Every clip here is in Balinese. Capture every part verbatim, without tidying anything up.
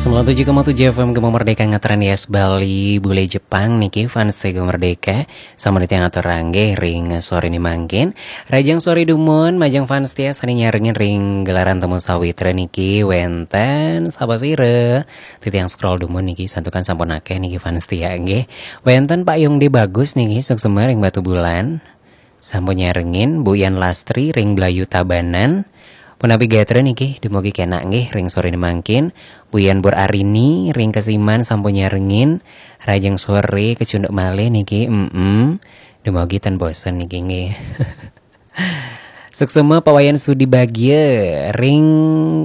Sembilan tujuh koma tujuh F M Gema Merdeka ngetren, yes, Bali, bule Jepang niki, fans Gema Merdeka. Sama di tiang atur ranggih ring sore ni mangkin. Rajang sore dumun, majeng fans setia sane nyarengin ring gelaran Temu Sawitra niki, wenten sapa sira? Titiang scroll dumun niki, santukan sampun akeh niki fans setia nggih. Wenten Pak Yongde Bagus niki, suksema ring Batubulan. Sampun nyarengin. Bu Yan Lastri ring Blayu Tabanan. Punapi gatra niki, dumugi kenak nggih ring sore ni mangkin. Bu Yan Bur Arini ring Kesiman sampun nyarengin. Rajeng sore kecunduk malih niki. Mm-mm. Dumugi ten bosen niki nggih. Suksema Pak Wayan Sudi Bagia ring,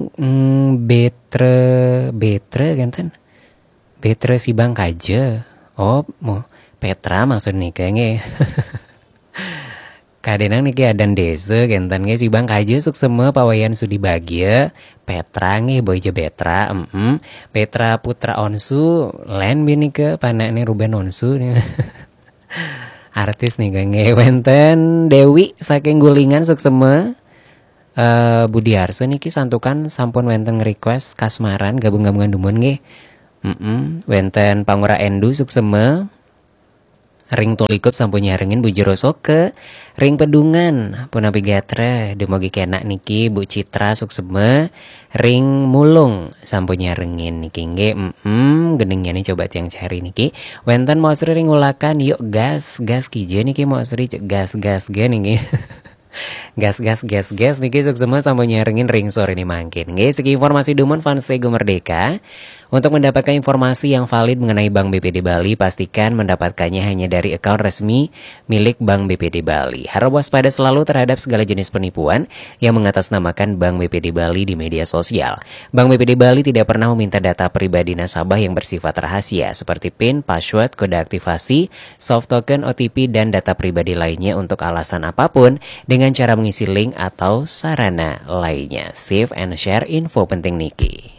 mm, Betra, Betra kenten. Betra Sibang Kaja. Oh, mo, Petra maksud nika nggih. Kadenang niki adan desa kenten nggih, Sibang Kaja suksema Pak Wayan Sudi Bagia. Petra nggih, boy ja Betra. Mm-mm. Petra Putra Onsu, len bi nika, panakne Ruben Onsu. Artis nika nggih. Wenten Dewi saking Gulingan suksema. Eh, Budi Arso niki santukan sampun wenten nge-request Kasmaran, gabung-gabungan dumun nggih. Mm-mm. Wenten Pangura Endu suksema. Ring Tulikup sampun nyarengin, Bu Jero Soke. Ring Pedungan, punapi gatra, dumugi kenak niki, Bu Citra suksema. Ring Mulung sampun nyarengin niki nggih. Mm-mm, gendingnya nih coba tiang cari niki. Wenten Mosri ring Ulakan, yuk gas, gas kija niki Mosri, cek gas, gas ge niki. Gas, gas, gas, gas niki suksema sampun nyarengin ring sore ni mangkin. Nggih, segi informasi dumun fans Gema Merdeka. Untuk mendapatkan informasi yang valid mengenai Bank B P D Bali, pastikan mendapatkannya hanya dari akun resmi milik Bank B P D Bali. Harap waspada selalu terhadap segala jenis penipuan yang mengatasnamakan Bank B P D Bali di media sosial. Bank B P D Bali tidak pernah meminta data pribadi nasabah yang bersifat rahasia seperti pin, password, kode aktivasi, soft token, O T P, dan data pribadi lainnya untuk alasan apapun dengan cara mengisi link atau sarana lainnya. Save and share info penting niki.